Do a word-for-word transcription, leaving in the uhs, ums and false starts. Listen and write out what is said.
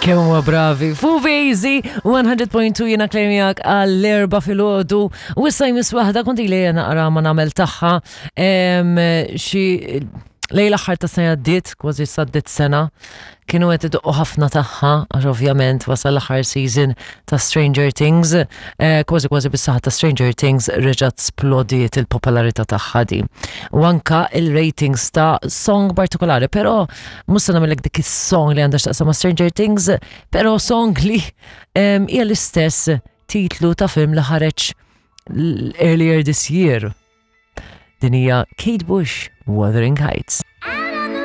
Kemm huma bravi. Fuq Easy one hundred point two, jiena Claire miegħek għall-erbgħa filgħodu. U issa jmiss waħda konti li jena naqra ma nagħmel tagħha em, xi lejn l-aħħar ta' sena għaddiet, kważi saddit sena, kienu qed idoqqu ħafna tagħha, għax ovvjament wasal l-aħħar season ta' Stranger Things, eh, kważi kważi bis-saħħa ta' Stranger Things reġgħet splodiet il-popolarità tagħha di. U anka il-ratings ta' song partikolari, però mhux se nagħmellek dik is-song li għandha x'taqsam ma' Stranger Things, però song li em, hija l-istess titlu ta' film li ħareġ l- earlier this year. Din hija Kate Bush, Wuthering Heights.